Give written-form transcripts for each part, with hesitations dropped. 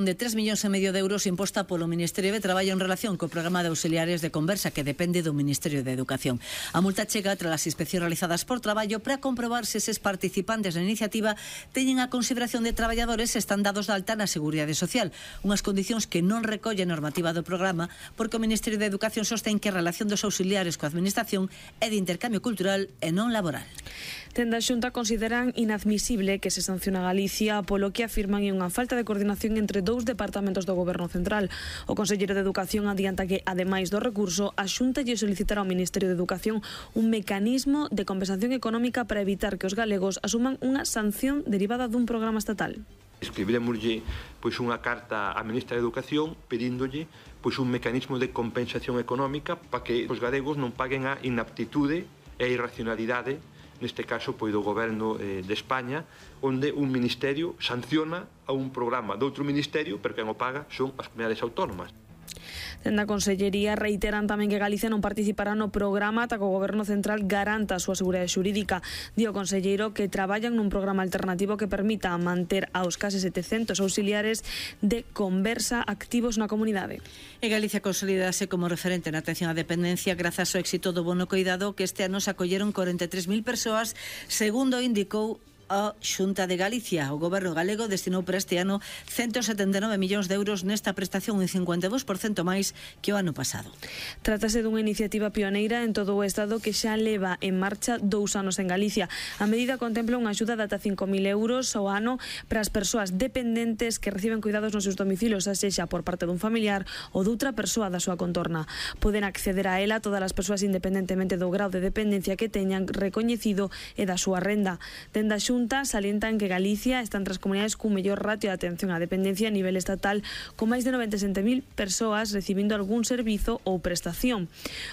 de 3,5 millóns de euros imposta polo Ministerio de Traballo en relación co programa de auxiliares de conversa que depende do Ministerio de Educación. A multa chega tras as inspeccións realizadas por Traballo para comprobar se eses participantes na iniciativa teñen a consideración de traballadores e están dados de alta na Seguridade Social, unhas condicións que non recolle a normativa do programa porque o Ministerio de Educación sostén que a relación dos auxiliares coa Administración é de intercambio cultural e non laboral. Dende a Xunta consideran inadmisible que se sanciona a Galicia polo que afirman é unha falta de coordinación entre dous departamentos do Goberno Central. O conselleiro de Educación adianta que, ademais do recurso, a Xunta lle solicitará ao Ministerio de Educación un mecanismo de compensación económica para evitar que os galegos asuman unha sanción derivada dun programa estatal. Escribiremoslle unha carta á Ministra de Educación pedíndolle un mecanismo de compensación económica para que os galegos non paguen a inaptitude e a irracionalidade, neste caso do Goberno de España, onde un ministerio sanciona a un programa de outro ministerio, pero quen o paga son as comunidades autónomas. Dende a Consellería reiteran tamén que Galicia non participará no programa ata que o Goberno Central garanta a súa seguridade xurídica. Di o conselleiro que traballan nun programa alternativo que permita manter aos case 700 auxiliares de conversa activos na comunidade. E Galicia consolidase como referente na atención á dependencia grazas ao éxito do bono coidado que este ano se acolleron 43.000 persoas, segundo indicou a Xunta de Galicia. O Goberno galego destinou para este ano 179 millóns de euros nesta prestación, un 52% máis que o ano pasado. Trátase dunha iniciativa pioneira en todo o Estado que xa leva en marcha 2 anos en Galicia. A medida contempla unha axuda de ata 5.000 euros ao ano para as persoas dependentes que reciben cuidados nos seus domicilios, sexa por parte dun familiar ou doutra persoa da súa contorna. Poden acceder a ela todas as persoas independentemente do grau de dependencia que teñan recoñecido e da súa renda. Dende a Xunta salientan que Galicia está entre as comunidades cun mellor ratio de atención á dependencia a nivel estatal, con máis de 97.000 persoas recibindo algún servizo ou prestación.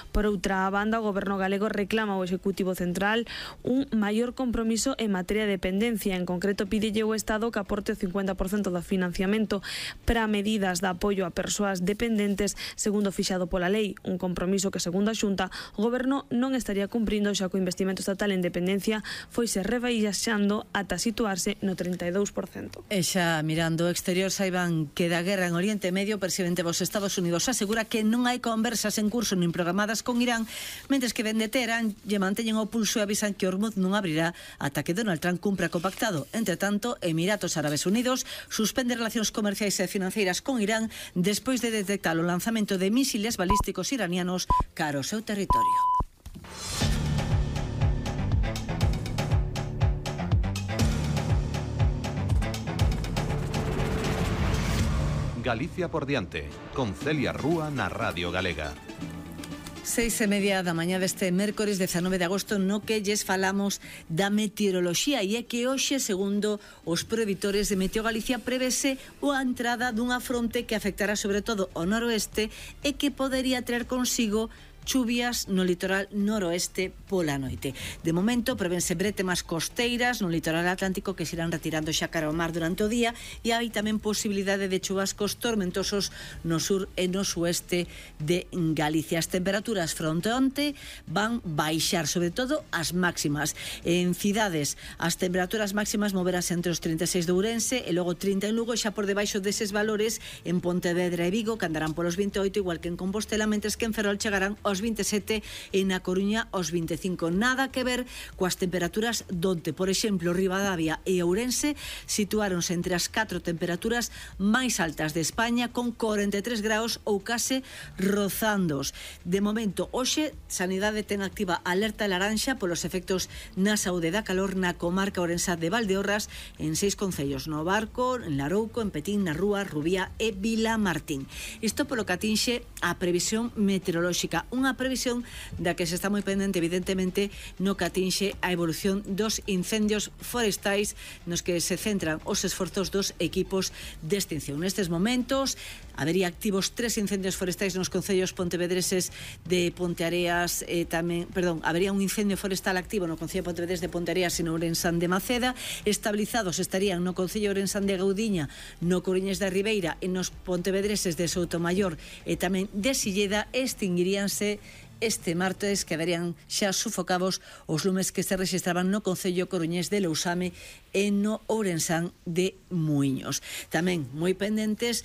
Por outra banda, o Goberno galego reclama ao Executivo Central un maior compromiso en materia de dependencia. En concreto, pídelle ao Estado que aporte o 50% do financiamento para medidas de apoio a persoas dependentes segundo fixado pola lei, un compromiso que, segundo a Xunta, o Goberno non estaría cumprindo xa que o investimento estatal en dependencia foise rebaixando ata situarse no 32%. E xa mirando o exterior, saiban que da guerra en Oriente Medio, o presidente dos Estados Unidos asegura que non hai conversas en curso nin programadas con Irán, mentres que dende Teherán lle manteñen o pulso e avisan que Hormuz non abrirá ata que Donald Trump cumpra co pactado. Entre tanto, Emiratos Árabes Unidos suspende relacións comerciais e financeiras con Irán despois de detectar o lanzamento de misiles balísticos iranianos cara ao seu territorio. Galicia por diante, con Celia Rúa na Radio Galega. 6:30 da mañá deste mércores 19 de agosto, no que lles falamos da meteoroloxía, e é que hoxe, segundo os preditores de Meteo Galicia, prevese a entrada dunha fronte que afectará sobre todo ao noroeste e que podería traer consigo chuvias no litoral noroeste pola noite. De momento, prevense bretemas costeiras no litoral atlántico que se irán retirando xa cara ao mar durante o día, e hai tamén posibilidade de chuvascos tormentosos no sur e no sueste de Galicia. As temperaturas fronte onte van baixar, sobre todo as máximas. En cidades, as temperaturas máximas moverase entre os 36 de Ourense e logo 30 en Lugo, xa por debaixo deses valores en Pontevedra e Vigo, que andarán polos 28, igual que en Compostela, mentres que en Ferrol chegarán aos 27 e na Coruña aos 25. Nada que ver coas temperaturas donte, por exemplo, Ribadavia e Ourense situáronse entre as 4 temperaturas máis altas de España, con 43 graus ou case rozándoos. De momento, hoxe, Sanidade ten activa alerta laranxa polos efectos na saúde da calor na comarca ourensá de Valdeorras, en 6 concellos: no Barco, en Larouco, en Petín, na Rúa, Rubía e Vilamartín. Isto polo que atinxe a previsión meteorolóxica, unha previsión da que se está moi pendente, evidentemente, no que atinxe a evolución dos incendios forestais, nos que se centran os esforzos dos equipos de extinción. Nestes momentos habería activos 3 incendios forestais nos concellos pontevedreses de Ponteareas, habería un incendio forestal activo no concello de Pontevedres de Ponteareas e no Ourensán de Maceda. Estabilizados estarían no concello Ourensán de Gaudiña, no Coruñés da Ribeira e nos pontevedreses de Soutomayor e tamén de Silleda. Extinguiríanse este martes quedarían xa sufocados os lumes que se rexistraban no concello coruñés de Lousame e no Ourensán de Muiños. Tamén moi pendentes